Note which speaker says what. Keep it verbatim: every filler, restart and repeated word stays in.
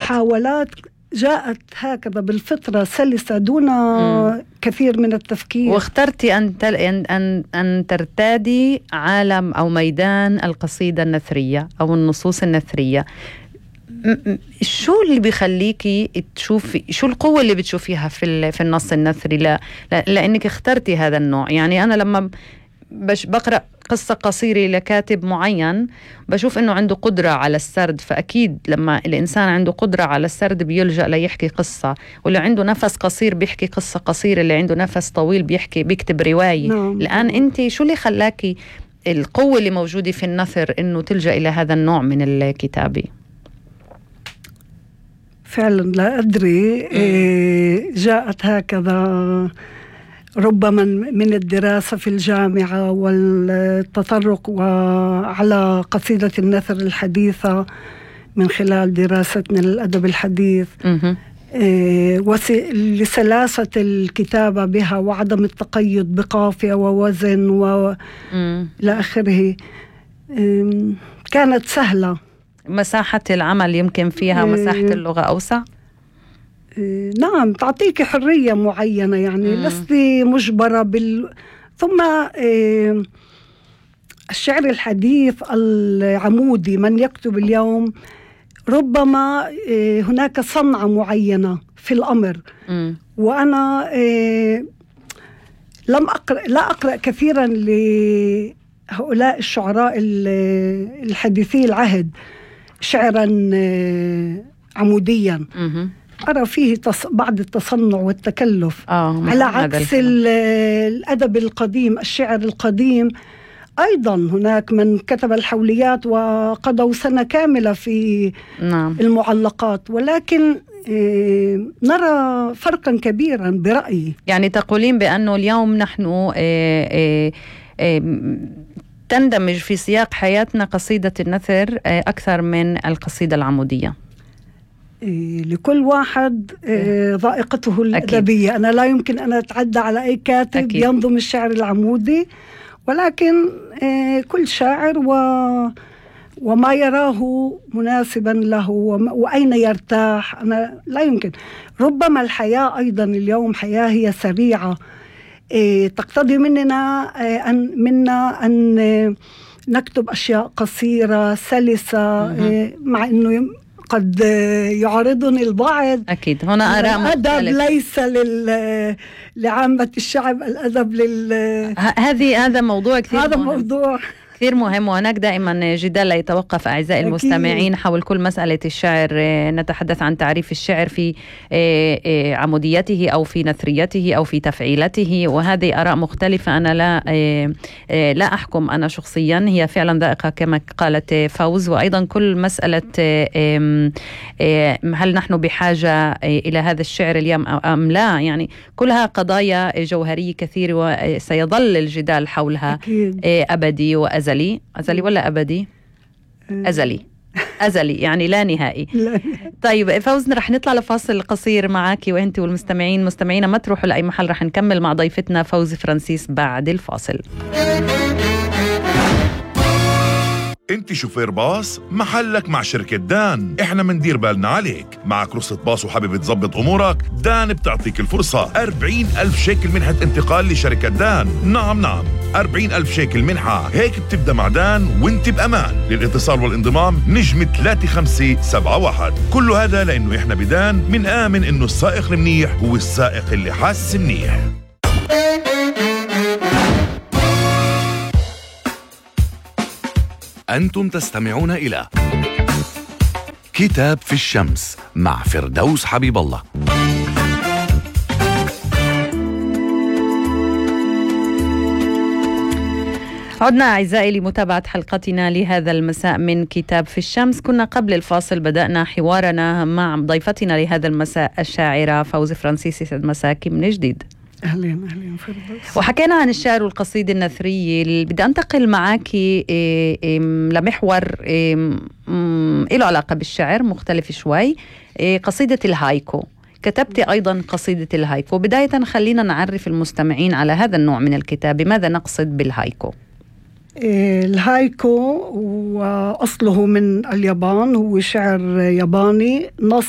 Speaker 1: محاولات جاءت هكذا بالفطرة سلسة دون م. كثير من التفكير.
Speaker 2: واخترتي أن, تل... أن... أن ترتادي عالم أو ميدان القصيدة النثرية أو النصوص النثرية. شو اللي بيخليكي تشوفي، شو القوة اللي بتشوفيها في في النص النثري لا لأنك اخترتي هذا النوع؟ يعني أنا لما بش بقرأ قصة قصيرة لكاتب معين بشوف إنه عنده قدرة على السرد، فأكيد لما الإنسان عنده قدرة على السرد بيلجأ ليحكي قصة، واللي عنده نفس قصير بيحكي قصة قصيرة، اللي عنده نفس طويل بيحكي بيكتب رواية. نعم. الآن أنت شو اللي خلاكي القوة اللي موجودة في النثر إنه تلجأ إلى هذا النوع من الكتابة؟
Speaker 1: فعلا لا أدري، جاءت هكذا ربما من الدراسة في الجامعة والتطرق على قصيدة النثر الحديثة من خلال دراستنا للأدب الحديث، لسلاسة الكتابة بها وعدم التقيد بقافية ووزن وإلى آخره، كانت سهلة.
Speaker 2: مساحة العمل يمكن فيها مساحة اللغة أوسع؟
Speaker 1: نعم، تعطيك حرية معينة، يعني مم. لست مجبرة بال... ثم الشعر الحديث العمودي من يكتب اليوم ربما هناك صنعة معينة في الأمر. مم. وأنا لم أقرأ لا أقرأ كثيرا لهؤلاء الشعراء الحديثي العهد شعرا عموديا. مم. أرى فيه تص... بعض التصنع والتكلف، آه على عكس الأدب القديم، الشعر القديم أيضا هناك من كتب الحوليات وقضوا سنة كاملة في نعم. المعلقات، ولكن إيه نرى فرقا كبيرا برأيي.
Speaker 2: يعني تقولين بأنه اليوم نحن إيه إيه إيه تندمج في سياق حياتنا قصيدة النثر إيه أكثر من القصيدة العمودية؟
Speaker 1: لكل واحد ذائقته الأدبية. أنا لا يمكن أن أتعدى على أي كاتب أكيد. ينظم الشعر العمودي، ولكن كل شاعر و وما يراه مناسبا له وأين يرتاح. أنا لا يمكن، ربما الحياة أيضا اليوم حياة هي سريعة، تقتضي مننا أن منا أن نكتب أشياء قصيرة سلسة، مع أنه قد يعارضني البعض.
Speaker 2: أكيد هنا آراء
Speaker 1: الأدب ليس لل... لعامة الشعب، الأدب لل
Speaker 2: هذه هذا موضوع كثير
Speaker 1: هذا
Speaker 2: مهم.
Speaker 1: موضوع
Speaker 2: كثير مهم، وهناك دائما جدال لا يتوقف أعزائي المستمعين حول كل مسألة الشعر. نتحدث عن تعريف الشعر في عموديته أو في نثريته أو في تفعيلته، وهذه آراء مختلفة. أنا لا لا أحكم أنا شخصيا، هي فعلا ذائقة كما قالت فوز. وأيضا كل مسألة هل نحن بحاجة إلى هذا الشعر اليوم أم لا، يعني كلها قضايا جوهرية كثير وسيظل الجدال حولها أكيد. أبدي وأزلي. أزلي أزلي ولا أبدي؟ أزلي أزلي يعني لا نهائي. طيب فوز، رح نطلع لفاصل قصير معك وأنت والمستمعين. مستمعينا ما تروحوا لأي محل، رح نكمل مع ضيفتنا فوز فرانسيس بعد الفاصل.
Speaker 3: انت شوفير باص، محلك مع شركة دان، احنا مندير بالنا عليك. معك رخصة باص وحابب تظبط امورك؟ دان بتعطيك الفرصة أربعين ألف شيكل منحة انتقال لشركة دان. نعم نعم أربعين ألف شيكل منحة، هيك بتبدأ مع دان وانت بأمان. للاتصال والانضمام نجم ثلاثة خمسة سبعة واحد. كل هذا لأنه احنا بدان من آمن انه السائق المنيح هو السائق اللي حاس منيح.
Speaker 4: أنتم تستمعون إلى كتاب في الشمس مع فردوس حبيب الله.
Speaker 2: عدنا أعزائي لمتابعة حلقتنا لهذا المساء من كتاب في الشمس. كنا قبل الفاصل بدأنا حوارنا مع ضيفتنا لهذا المساء الشاعرة فوز فرانسيس. يسعد مساكي من جديد.
Speaker 1: أهلين أهلين فردوس.
Speaker 2: وحكينا عن الشعر والقصيدة النثرية. بدي أنتقل معك لمحور له علاقة بالشعر مختلف شوي، قصيدة الهايكو. كتبت أيضا قصيدة الهايكو. بداية خلينا نعرف المستمعين على هذا النوع من الكتاب، ماذا نقصد بالهايكو؟
Speaker 1: الهايكو وأصله من اليابان، هو شعر ياباني، نص